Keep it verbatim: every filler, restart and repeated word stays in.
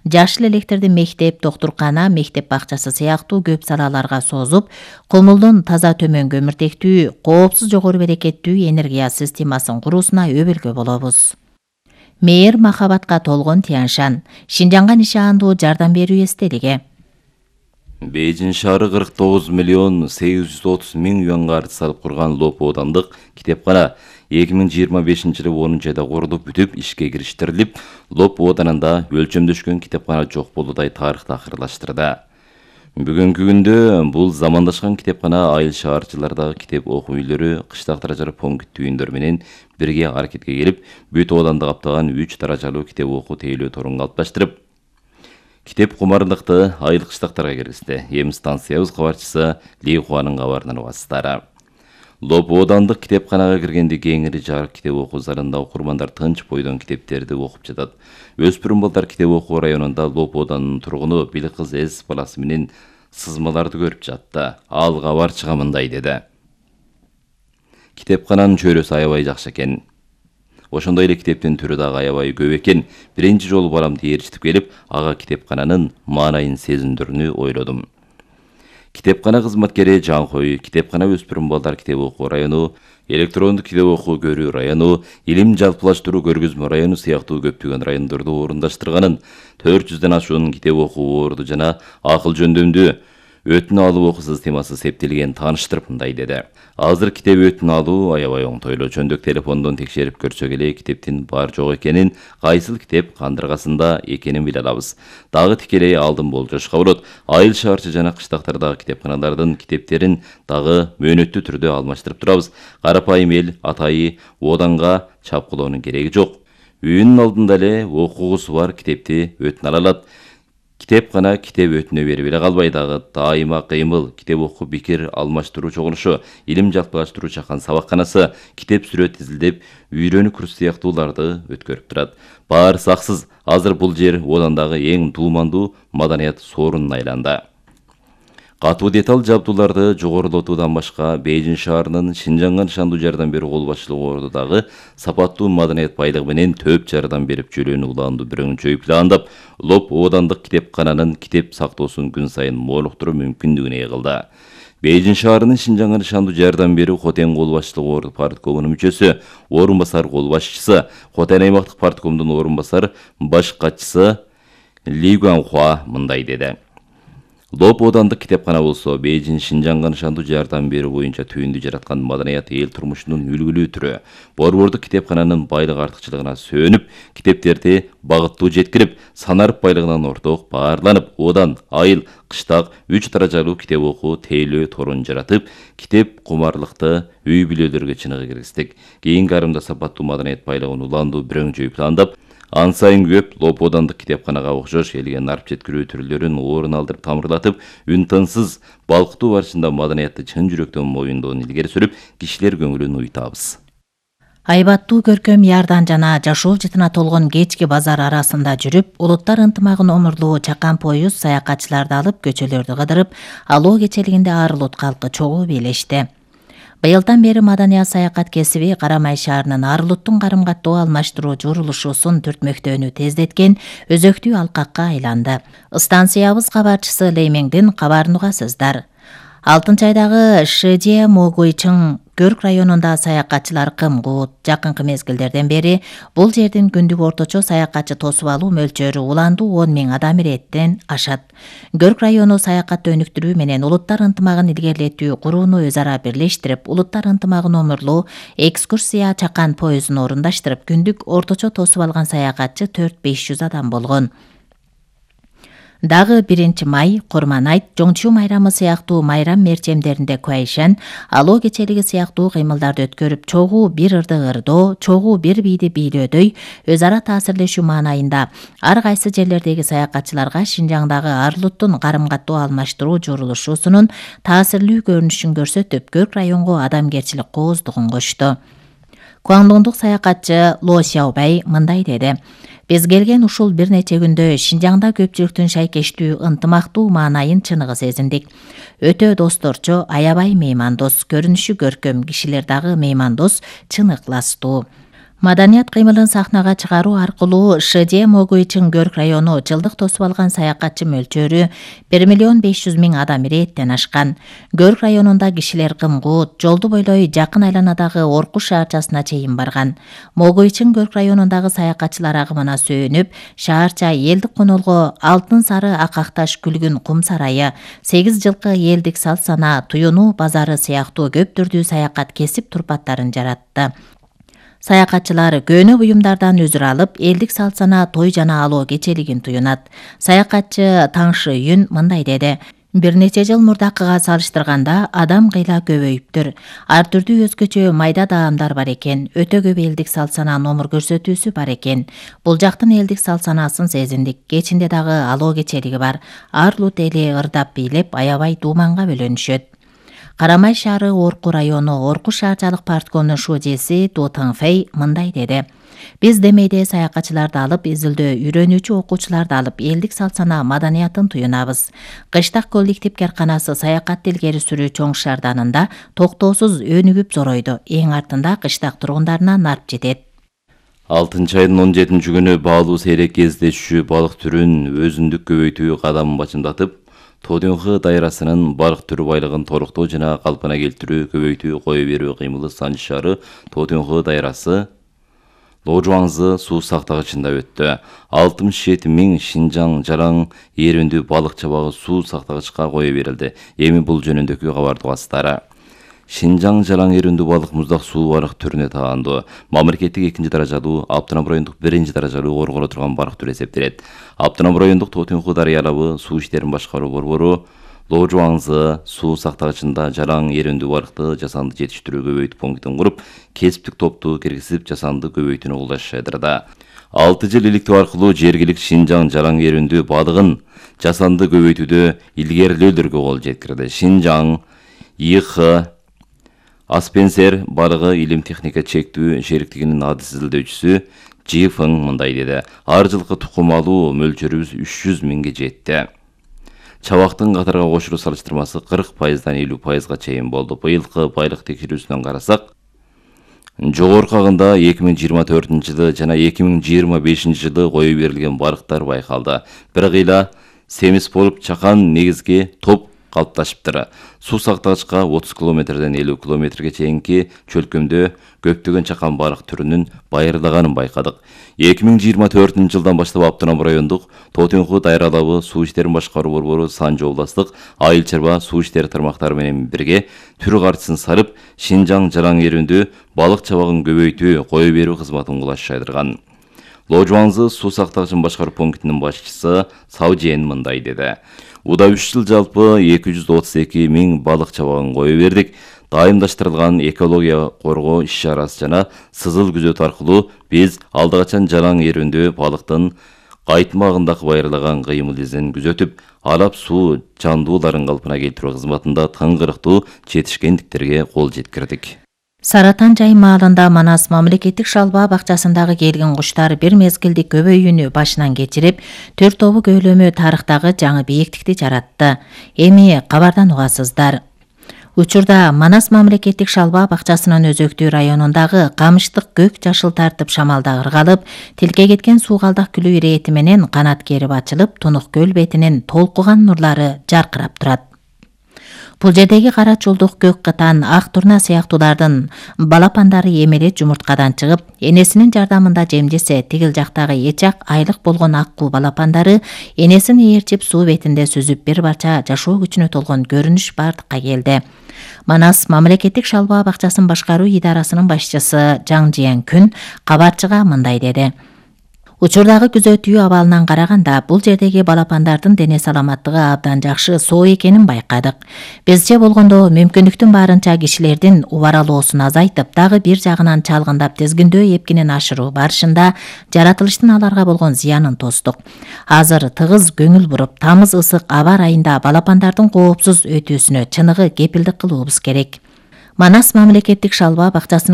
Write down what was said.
жаш электерди мектеп, доктуркана, мектеп бакчасы сыяктуу көп салаларга созуп, комулдун таза төмөн көмүртектүү, коопсуз жогору берекеттүү энергия системасын куруусуна өбөлгө болобуз. Мээр махабатка толгон Тяншан, Шинжаңга нишандуу жардам берүү эстелиги. Бейжин шаары кырк тогуз миллион сегиз жүз отуз миң юанга арыз салып курган Лопо оодандык китепкана эки миң жыйырма бешинчи жылы онунчу айда курулуп бүтүп ишке кириштирилип, Лопо ооданында өлчөмдөшкөн китепкана жок болуудай тарыхты акырылаштырды. Бүгүнкү күндө бул замандашкан китепкана айыл шаарчылардагы китеп окуу үйлөрү, кыштак даражалуу пункт үйүндөр менен бирге аракетке келип, бүт ооданды каптаган үч даражалуу китеп окуу тейлөө торун калыпташтырып, китеп кумардыкты айыл кыштактарга киргизди. Эми станциябыз кабарчысы Ли Хуанын кабарынан угасыздар. Лопо оодандык китепканага киргенде кеңири жарык китеп окуу залында окурмандар тынч бойдон китептерди окуп жатат. Өспүрүм балдар китеп окуу районунда Лопо ооданынын тургуну Билкыз Эз баласы менен сызмаларды көрүп жатты. Ал кабарчыга мындай деди: Китепкананын чөйрөсү аябай жакшы экен. Ошондой эле китептин түрү дагы аябай көп экен. Биринчи жолу баламды ээрчитип келип, ага китепкананын маанайын сезиндирүүнү ойлодум. Китепкана кызматкери Жанхой, китепкана өспүрүм балдар китеп окуу району, электрондук китеп окуу көрүү району, илим жалпылаштыруу көргөзмө району сыяктуу көптөгөн райондорду орундаштырганын, төрт жүздөн ашуун китеп окуу орду жана акыл жөндөмдүү өтүн алуу окуу системасы септелген тааныштырып мындай деди: Азыр китеп өтүн алуу аябай оңтойлуу. Чөндүк телефондон текшерип көрсөк эле китептин бар жок экенин, кайсыл китеп кандыргасында экенин биле алабыз. Дагы тикелей алдын болжошко болот. Айыл шаарчы жана кыштактардагы китепканалардын китептерин дагы мөөнөттүү түрдө алмаштырып турабыз. Карапайым эл атайы ооданга чапкылоонун кереги жок. Үйүнүн алдында эле окугусу бар китепти өтүн ала алат. Китепкана китеп өтүнө берип эле калбай, дагы дайыма кыймыл, китеп окуу пикир алмаштыруу чогулушу, илим жалпылаштыруу чакан сабакканасы, китеп сүрөт изилдеп, үйрөнүү курсу сыяктууларды өткөрүп турат. Баары саксыз. Азыр бул жер оодандагы эң дуумандуу маданият соорунуна айланды. Катуу деталь жабдууларды жогорулатуудан башка Бейжин шаарынын Шинжаңга нышандуу жардам берүү кол башчылыгы ордудагы сапаттуу маданият байлыгы менен төп жардам берип жөлөөнү улаандуу бирөңчөй пландап, Лопо оодандык китепкананын китеп сактоосун күн сайын молуктуруу мүмкүндүгүн ээ кылды. Бейжин шаарынын Шинжаңга нышандуу жардам берүү Хотен кол башчылыгы орду парткомунун мүчөсү, орун басар кол башчысы, Хотен аймактык парткомдун орун басар баш катчысы Ли Гуанхуа мындай деди: Лопо оодандык китепкана болсо Бейжин Шинжаңга нышандуу жардам берүү боюнча түйүндү жараткан маданият эл турмушунун үлгүлүү түрү. Борбордук китепкананын байлык артыкчылыгына сөөнүп, китептерди багыттуу жеткирип, санарып байлыгынан орток баарланып, оодан, айыл, кыштак үч даражалуу китеп окуу тейлөө торун жаратып, китеп кумарлыкты үй бүлөлөргө чыныгы киргиздик. Кийинки арымда сапаттуу маданият байлыгын улаандуу бирөңчөй пландап, ан сайын көп Лопо оодандык китепканага окшош элге нарып жеткирүү түрлөрүн орун алдырып тамырлатып, үн тынсыз балкытуу барышында маданиятты чын жүрөктөн моюндоонун илгери сүрүп, кишилер көңүлүн уйтабыз. Айбаттуу көркөм ярдан жана жашоо жытына толгон кечки базар арасында жүрүп, улуттар ынтымагын омурлоо чакан поюз саякатчыларды алып көчөлөрдү кыдырып, алоо кечелигинде ар улут калкы чогуу бийлешти. Быйылдан бери маданият саякат кесиби Карамай шаарынын ар улуттун карым каттоо алмаштыруу журулушусун түртмөктөөнү тездеткен өзөктүү алкакка айланды. Станциябыз кабарчысы Леймеңдин кабарын угасыздар. алтынчы айдагы Шэжэ Могуйчың Көрк районунда саякатчылар кым-кут. Жакынкы мезгилдерден бери бул жердин күндүк орточо саякатчы тосуп алуу мөлчөрү уландуу он миң адам иреттен ашат. Көрк району саякатты өнүктүрүү менен улуттар ынтымагын илгерилетүү курууну өз ара бирлештирип, улуттар ынтымагын омурлоо экскурсия чакан поюзун орундаштырып, күндүк орточо тосуп алган саякатчы төрт беш жүз адам болгон. Дагы биринчи май, Курман айт, Жоңчу майрамы сыяктуу майрам мерчемдеринде Куайшан, алоо кечелиги сыяктуу кыймылдарды өткөрүп, чогуу бир ырды ырдоо, чогуу бир бийди бийлөөдөй өз ара таасирлешүү маанайында ар кайсы жерлердеги саякатчыларга Шинжаңдагы ар улуттун карым каттоо алмаштыруу журулушусунун таасирлүү көрүнүшүн көрсөтүп, Көрк районго адамгерчилик кооздугун кошту. Гуандоңдук саякатчы Ло Сяобай мындай деди: Биз келген ушул бир нече күндө Шинжаңда көпчүлүктүн шайкештүү, ынтымактуу маанайын чыныгы сезиндик. Өтө досторчо, аябай меймандос, көрүнүшү көркөм, кишилер дагы меймандос, чын ыкластуу. Маданият кыймылын сахнага чыгаруу аркылуу ШД Могуйчун Көрк району жылдык тосуп алган саякатчы мөлчөрү бир миллион беш жүз миң адам ирээттен ашкан. Көрк районунда кишилер Кымгут, жолду бойлой жакын айланадагы Оркуш шаарчасына чейин барган. Могуйчун Көрк районундагы саякатчылар агымына сүйүнүп, шаарча элдик конолго алтын сары акакташ күлгүн кум сарайы, сегиз жылкы элдик салт сана, туюнуу базары сыяктуу көп түрдүү саякат кесип турпаттарын жаратты. Саякатчылар көнө буюмдардан өзүр алып, элдик салт сана, той жана алоо кечелигин туюнат. Саякатчы Таңшы Үйүн мындай деди: Бир нече жыл мурдакыга салыштырганда адам кыйла көбөйүптүр. Ар түрдүү өзгөчө майда даамдар бар экен. Өтө көп элдик салт сана номур көрсөтүүсү бар экен. Бул жактын элдик салт санасын сезиндик. Кечинде дагы алоо кечелиги бар. Ар лут эли ырдап бийлеп, аябай дууманга бөлөнүшөт. Карамай шаары Орку району Оркуш шаарчалык парткомунун шужеси Ду Таңфэй мындай деди: Биз демейде саякатчыларды алып, изилдөө үйрөнүүчү окуучуларды алып, элдик салт сана маданиятын туюнабыз. Кыштак коллектив керканасы саякатты илгери сүрүү чоң шаарданында токтоосуз өнүгүп зоройду. Эң артында кыштак тургундарына нарп жетет. алтынчы айдын он жетинчи күнү баалуу сейрек кездешүү балык түрүн өзүндүк көбөйтүү кадамын бачымдатып, Тодюнхы дайрасынын балык түрү байлыгын толуктоо жана калпына келтирүү, көбөйтүү, кое берүү кыймылы Санчы шаары Тодюнхы дайрасы Ложуаңзы суу сактагычында өттү. алтымыш жети миң Шинжаң жараң эрүндүү балык чабагы суу сактагычка кое берилди. Эми бул жөнүндөгү кабарды угасыздар. Шинжаң жараң эрүндүү балык муздак суу балык түрүнө таандуу. Мамлекеттик экинчи даражалуу, Аптанам райондук биринчи даражалуу корголо турган балык түрү эсептелет. Аптанам райондук Тодюнхы дарыя алабы суу иштерин башкаруу борбору Ложуаңзы суу сактагычында жараң эрүндүү балыкты жасанды жетиштирүү көбөйтүү пунктун куруп, кесиптик топту киргизип жасанды көбөйтүүнү колдошууда. алты жыл иликтөө аркылуу жергилик Шинжаң жараң эрүндүү балыгын жасанды көбөйтүүдө илгерилөөлөргө кол жеткирди. Шинжаң ИХ Аспенсер балыгы илим техника чектүү шериктигинин адыс изилдөөчүсү Жи Фың мындай деди: Ар жылкы тукум алуу мөлчөрүбүз үч жүз миңге жетти. Чабактын катарга кошулуу салыштырмасы кырк пайыздан элүү пайызга чейин болду. Быйылкы байлык текшерүүсүнөн карасак, жогоркагында эки миң жыйырма төртүнчү жылы жана эки миң жыйырма бешинчи жылы кое берилген балыктар байкалды. Бир кыйла семиз болуп чакан негизги топ калыпташыптыр. Суу сактагычка отуз километрден элүү километрге чейинки чөлкөмдө көптөгөн чакан балык түрүнүн байырлаганын байкадык. эки миң жыйырма төртүнчү жылдан баштап Аптанам райондук Тодюнхы дайра алабы суу иштерин башкаруу борбору Санжы областык айыл чарба суу иштери тармактары менен бирге түр картысын сарып, Шинжаң жараң эрүндүү балык чабагын көбөйтүү, кое берүү кызматын кулаш жайдырган. Ложуаңзы суу сактагычын башкаруу пунктунун башчысы Саужен мындай деди: Уда үч жыл жалпы эки жүз отуз эки миң балык чабагын кое бердик. Дайымдаштырылган экология коргоо иш-чарасы жана сызыл күзөт аркылуу биз алда качан жараң эрүндүү балыктын кайтмагындагы байырлаган кыймыл изин күзөтүп, алап суу жандууларын калпына келтирүү кызматында тыңгырыктуу жетишкендиктерге кол жеткирдик. Саратан жайым маалында Манас мамлекеттик шалба бакчасындагы келген куштар бир мезгилди көбөйүүнү башынан кечирип, төрт тобу көөлөмө тарыхтагы жаңы бийиктикти жаратты. Эми кабардан угасыздар. Учурда Манас мамлекеттик шалба бакчасынын өзөктүү районундагы камыштык көк жашыл тартып шамалда ыргалып, тилке кеткен суугалдак күлүү ирэти менен канат керип ачылып, Тунук көл бетинин толкуган нурлары жаркырап турат. Бул жердеги кара чулдук, көк кытан, ак турна сыяктуулардын балапандары эмелет жумурткадан чыгып, энесинин жардамында жемдесе, тигил жактагы эчак айлык болгон аккуу балапандары энесин ээрчип суу бетинде сүзүп, бир барча жашоо күчүнө толгон көрүнүш бардыкка келди. Манас мамлекеттик шалба бакчасын башкаруу идарасынын башчысы Жаң Жиен Күн кабарчыга мындай деди: Учурдагы күзөтүү абалынан караганда бул жердеги балапандардын дене саламаттыгы абдан жакшы, соо экенин байкадык. Бизче болгондо мүмкүндүктүн баарынча кишилердин убаралоосун азайтып, дагы бир жагынан чалгындап тизгиндөө эпкинин ашыруу барышында жаратылыштын аларга болгон зыянын тостук. Азыр тыгыз көңүл буруп, тамыз ысык аба айында балапандардын коопсуз өтүүсүнө чыныгы кепилдик кылуубуз керек. Манас мамлекеттик шалба бакчасынын